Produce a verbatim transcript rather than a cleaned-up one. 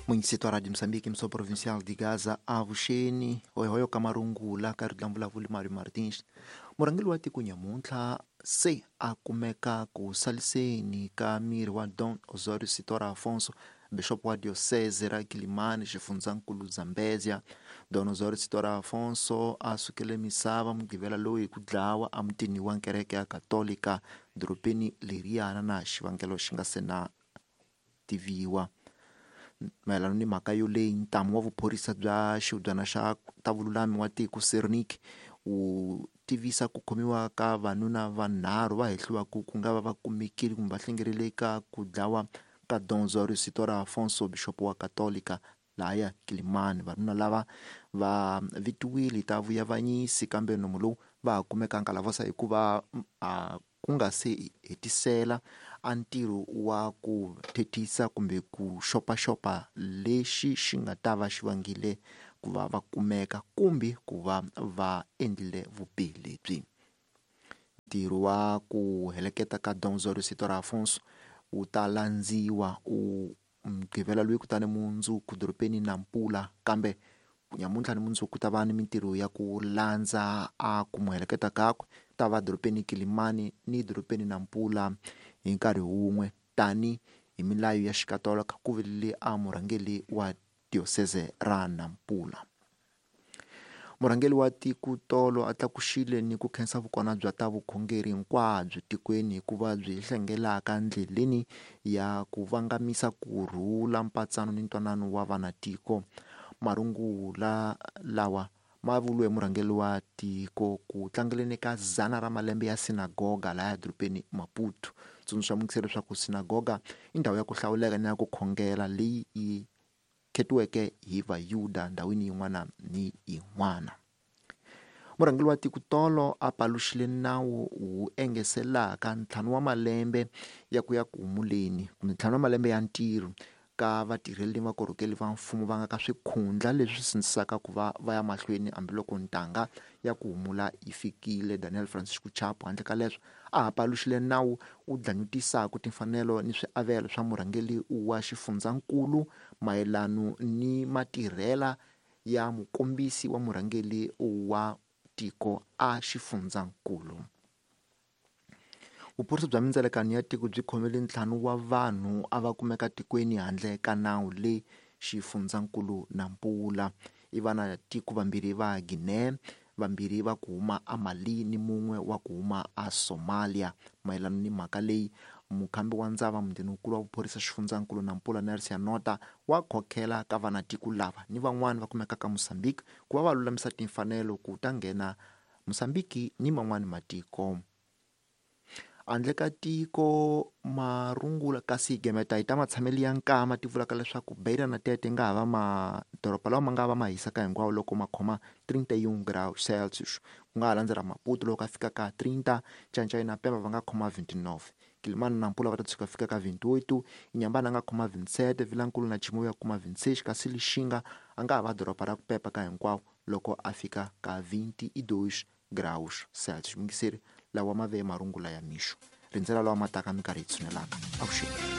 Município de Moçambique, missão provincial de Gaza, avuxeni hoyohoyo ka marungula ka ri vulavuli Mario Martins. Murhangeri wa tiko nyamuntlha se a kumeka ku saliseni ka miri wa Dom Osório Sitora Afonso, bishop wa diocese ra Kilimani, xifundzankulu Zambezia. Dom Osório Sitora Afonso a sukele misava Mugqivela lowu hi ku dlawa emutini wa kereke ya Katolika dorobeni leriyana na xivangelo xi nga se na tiviwa. Mayelana ni mhaka yoleyi, ntamu wa vuphorisa bya xihubyana xa ta vululami wa tiko Sernik wu tivisa ku khomiwa ka vanuna vanharhu va hehliwaka ku nga va va kumekile kumbe va hlengerile ka ku dlawa ka Dom Osório Sitora Afonso, bishop wa Katolika lahaya Kilimani. Vanuna lava va vitiwile ta vuyavanyisi kambe nomu lowu va ha kumeka nkalavosa hikuva a ku nga se hetisela a ntirho wa ku thethisa kumbe ku xopaxopa lexi xi nga ta va xi vangile ku va va kumeka kumbe ku va va endlile vubihi lebyi. Ntirho wa ku heleketa ka Dom Osório Sitora Afonso wu ta landziwa u Mugqivela loyi kutani mundzuku dorobeni Nampula, kambe nyamuntlha ni mundzuku ku ta va ni mintirho ya ku landza a ku n'wi heleketa kakwe ta va dorobeni Kilimani ni dorobeni Nampula hi nkarhi wun'we tani hi milayo ya xikatolika ku vilele a murhangeri wa diocese ra Nampula. Murhangeri wa tiko tolo a tlakuxile ni ku khensa vukona bya ta vukhongeri hinkwabyo tikweni hikuva byi hlengelaka ndleleni ya ku vangamisa kurhula, mpatsano ni ntwanano wa vanatiko. Marungula lawa ma vuriwe murhangeri wa tiko ku tlangeleni ka dzana ra malembe ya sinagoga laya dorobeni Maputo. Tsundzuxa muyingiseri leswaku sinagoga i ndhawu ya ku hlawuleka ni ya ku khongela leyi yi khetiweke hi Vayuda ndhawini yin'wana ni yin'wana. Murhangeri wa tiko tolo a paluxile nawu wu engeselaka ntlhanu wa malembe ya ku ya ku humuleni kumbe ntlhanu wa malembe ya ntirho ka vatirheli ni vakorhokeli va mfumo va nga ka swikhundla leswi sindzisaka ku va va ya mahlweni hambiloko ntanga ya ku humula yi fikile. Daniel Francisco Chapo handle ka leswo a ha paluxile nawu wu dlanyutisaka timfanelo ni swiavelo swa murhangeri wa xifundzankulu mayelano ni matirhela ya mukombisi wa murhangeri wa tiko a xifundzankulu. Vuphorisa bya mindzelekano ya tiko byi khomile ntlhanu wa vanhu a va kumeka tikweni handle ka nawu le xifundzankulu Nampula. I vana tiko vambirhi va Guinea, vambirhi va ku huma a Mali ni mun'we wa ku huma a Somalia. Mayelana ni mhaka leyi, mukhambi wa ndzava mundeninkulu wa vuphorisa xifundzankulu Nampula Nelson Nota wa khokhela ka vanatiko lava ni van'wani va kumekaka ka Mozambique ku va va lulamisa timfanelo ku ta nghena Mozambique ni man'wani matiko. Handle ka tiko marungula kasi gemeta hi ta matshamelo ya nkama ti vulaka leswaku Beira na Tete nga ha va madoroba lawa ma nga va ma hisaka hinkwawo loko ma khoma trinta e um graus Celsius. Ku nga ha landzela Maputo loko a fika ka trinta, Ncancai na Pemba va nga khoma vinte e nove, Kilimani na Nampula va ta tshuka fika ka vinte e oito, Inhambane a nga khoma vinte e sete, Vilankulu na Chimoio ya kuma vinte e seis, kasi Lixinga a nga ha va doroba ra ku pepa ka hinkwawo loko a fika ka vinte e dois graus Celsius. Muyingiseri lawa ma ve marungula ya mixo, rindzela lawa ma taka minkarhi yi tshunelaka. Avuxeni.